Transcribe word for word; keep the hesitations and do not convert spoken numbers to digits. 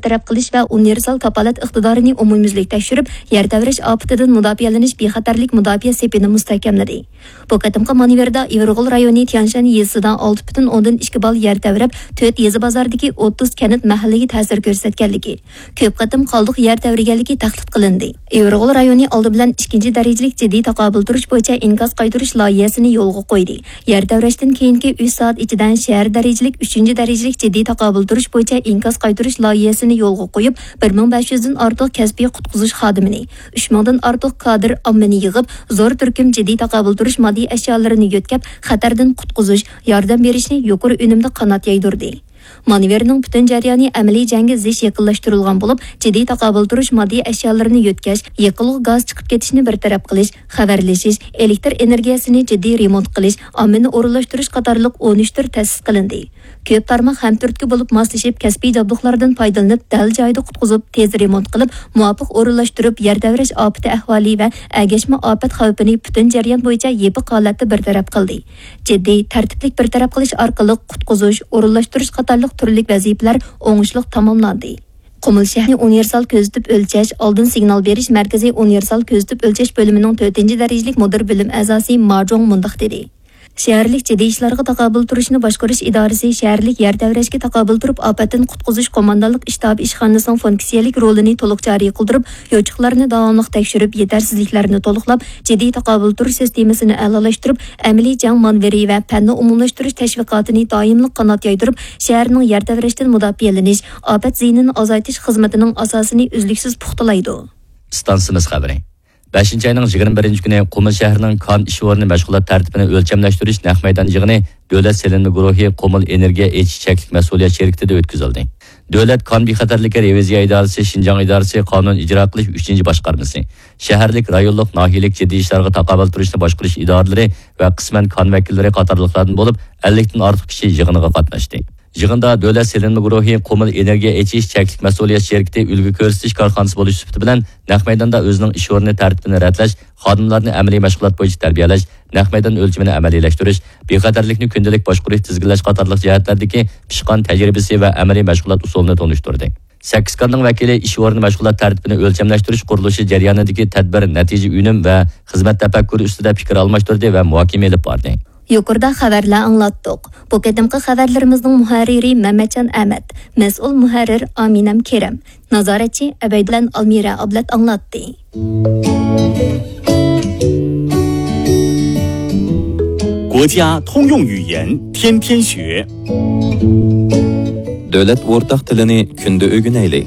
تەرەپ قىلىش ۋە ئۇنىۋېرسال كاپالەت ئىقتىدارىنى ئومۇميۈزلۈك تەكشۈرۈپ، يەر تەۋرەش ئاپىتىدىن مۇداپىئەلىنىش بىخەتەرلىك مۇداپىئە سېپىنى مۇستەھكەملىدى. بۇ قېتىمقى مانېۋىردا ئىۋىرغول رايونى تيانشان يېزىسىدا ئالتە پۈتۈن ئوندىن ئىككى بال يەر تەۋرەپ، تۆت يېزا بازاردىكى ئوتتۇز كەنت مەھەللىگە تەسىر كۆرسەتكەنلىكى، كۆپ قېتىم قالدۇق يەر تەۋرىگەنلىكى تەھدىت قىلىندى. ئىۋىرغول رايونى ئالدى بىلەن ئىككىنچى دەرىجىلىك جىددىي تاقابىل تۇرۇش بويىچە ئىنكاس قايتۇرۇش لايىھەسىنى يولغا قويدى. يەر تەۋرەشتىن كېيىنكى ئۈچ سائەت ئىچىدە شەھەر دەرىجىلىك ئۈچىنچى دەرىجىلىك جىددىي تاقابىل تۇرۇش بويىچە ئىنكاس قايتۇرۇش لايىھەسىنى يولغا قويۇپ، بىر مىڭ بەش يۈزدىن ئارتۇق كەسپىي قۇتقۇزۇش خادىمىنى، ئۈچ مىڭدىن ئارتۇق كادىر ئاممىنى يىغىپ، زور تۈركۈم جىددىي تاقابىل تۇرۇش ماددىي ئەشيالىرىنى يۆتكەپ، خەتەردىن قۇتقۇزۇش، ياردەم بېرىشنى يۇقىرى ئۈنۈمدە قانات يايدۇردى. مانېۋىرنىڭ پۈتۈن جەريانى ئەمەلىي جەڭگە زىچ يېقىنلاشتۇرۇلغان بولۇپ، جىددىي تاقابىل تۇرۇش ماددىي ئەشيالىرىنى يۆتكەش، يېقىلغۇ گاز چىقىپ كېتىشنى بىر تەرەپ قىلىش، خەۋەرلىشىش، ئېلېكتر ئېنېرگىيەسىنى جىددىي رېمونت قىلىش، ئاممىنى ئورۇنلاشتۇرۇش قاتارلىق ئون ئۈچ تۈر تەسىس قىلىندى. كۆپ تارماق ھەمتۈرتكە بولۇپ ماسلىشىپ، كەسپىي جابدۇقلاردىن پايدىلىنىپ، دەل جايىدا قۇتقۇزۇپ، تېز رېمونت قىلىپ، مۇۋاپىق ئورۇنلاشتۇرۇپ، يەر تەۋرەش ئاپىتى ئەھۋالى ۋە ئەگەشمە ئاپەت خەۋپىنى پۈتۈن جەريان بويىچە يېپىق ھالەتتە بىر تەرەپ قىلدى. جىددىي، تەرتىپلىك بىر تەرەپ قىلىش ئارقىلىق قۇتقۇزۇش، ئورۇنلاشتۇرۇش قاتارلىق تۈرلۈك ۋەزىپىلەر ئوڭۇشلۇق تاماملاندى. قۇمۇل شەھىرى ئۇنىۋېرسال كۆزىتىپ ئۆلچەش، ئالدىن سىگنال بېرىش مەركىزى ئۇنىۋېرسال كۆزىتىپ ئۆلچەش بۆلۈمىنىڭ تۆتىنچى دەرىجىلىك مۇدىر بۆلۈم ئەزاسى ما جۇڭ مۇنداق دېدى: شەھەرلىك جىددىي ئىشلارغا تاقابىل تۇرۇشنى باشقۇرۇش ئىدارىسى شەھەرلىك يەر تەۋرەشكە تاقابىل تۇرۇپ ئاپەتتىن قۇتقۇزۇش قوماندانلىق ئىشتابى ئىشخانىسىنىڭ فۇنكسىيەلىك رولىنى تولۇق جارى قىلدۇرۇپ، يوچۇقلارنى داۋاملىق تەكشۈرۈپ، يېتەرسىزلىكلەرنى تولۇقلاپ، جىددىي تاقابىل تۇرۇش سىستېمىسىنى ئەلالاشتۇرۇپ، ئەمەلىي جەڭ مانېۋىرى ۋە پەننى ئومۇملاشتۇرۇش تەشۋىقاتىنى دائىملىق قانات يايدۇرۇپ، شەھەرنىڭ يەر تەۋرەشتىن مۇداپىئەلىنىش، ئاپەت زىيىنىنى ئازايتىش خىزمىتىنىڭ ئاساسىنى ئۈزلۈكسىز پۇختىلايدۇ. ئىستانسىمىز خەۋىرى. بەشىنچى ئاينىڭ يىگىرمە بىرىنچى كۈنى قۇمۇل شەھىرىنىڭ كان ئىش ئورنى مەشغۇلات تەرتىپىنى ئۆلچەملەشتۈرۈش نەق مەيدان يىغىنى دۆلەت سېلىنما گۇرۇھى قۇمۇل ئېنېرگىيە ئېچىش چەكلىك مەسئۇلىيەت شىركىتىدە ئۆتكۈزۈلدى. دۆلەت كان بىخەتەرلىكى رېۋىزىيە ئىدارىسى شىنجاڭ ئىدارىسى قانۇن ئىجرا قىلىش ئۈچىنچى باشقارمىسى، شەھەرلىك، رايونلۇق، ناھىيەلىك جىددىي ئىشلارغا تاقابىل تۇرۇشنى باشقۇرۇش ئىدارىلىرى ۋە قىسمەن كان ۋەكىللىرى قاتارلىقلاردىن بولۇپ ئەللىكتىن ئارتۇق كىشى يىغىنغا قاتناشتى. يىغىندا دۆلەت سېلىنما گۇرۇھى قۇمۇل ئېنېرگىيە ئېچىش چەكلىك مەسئۇلىيەت شىركىتى ئۈلگە كۆرسىتىش كارخانىسى بولۇش سۈپىتى بىلەن نەق مەيداندا ئۆزىنىڭ ئىش ئورنى تەرتىپىنى رەتلەش، خادىملارنى ئەمەلىي مەشغۇلات بويىچە تەربىيەلەش، نەق مەيدان ئۆلچىمىنى ئەمەلىيلەشتۈرۈش، بىخەتەرلىكنى كۈندىلىك باشقۇرۇش، تىزگىنلەش قاتارلىق جەھەتلەردىكى پىشقان تەجرىبىسى ۋە ئەمەلىي مەشغۇلات ئۇسۇلىنى تونۇشتۇردى. سەككىز كارنىڭ ۋەكىلى ئىش ئورنى مەشغۇلات تەرتىپىنى ئۆلچەملەشتۈرۈش قۇرۇلۇشى جەريانىدىكى تەدبىر، نەتىجە، ئۈنۈم ۋە خىزمەت تەپەككۇرى ئۈستىدە پىكىر ئالماشتۇردى ۋە مۇھاكىمە ئېلىپ باردى. يۇقىرىدا خەۋەرلەر ئاڭلاتتۇق. بۇ قېتىمقى خەۋەرلىرىمىزنىڭ مۇھەررىرى مەمەتجان ئەمەت، مەسئۇل مۇھەررىر ئامىنەم كېرەم، نازارەتچى ئەبەيدۇللا ئالمىرە ئابلەت ئاڭلاتتى. 国家通用语言，天天学。 دۆلەت ئورتاق تىلىنى كۈندە ئۆگىنەيلى.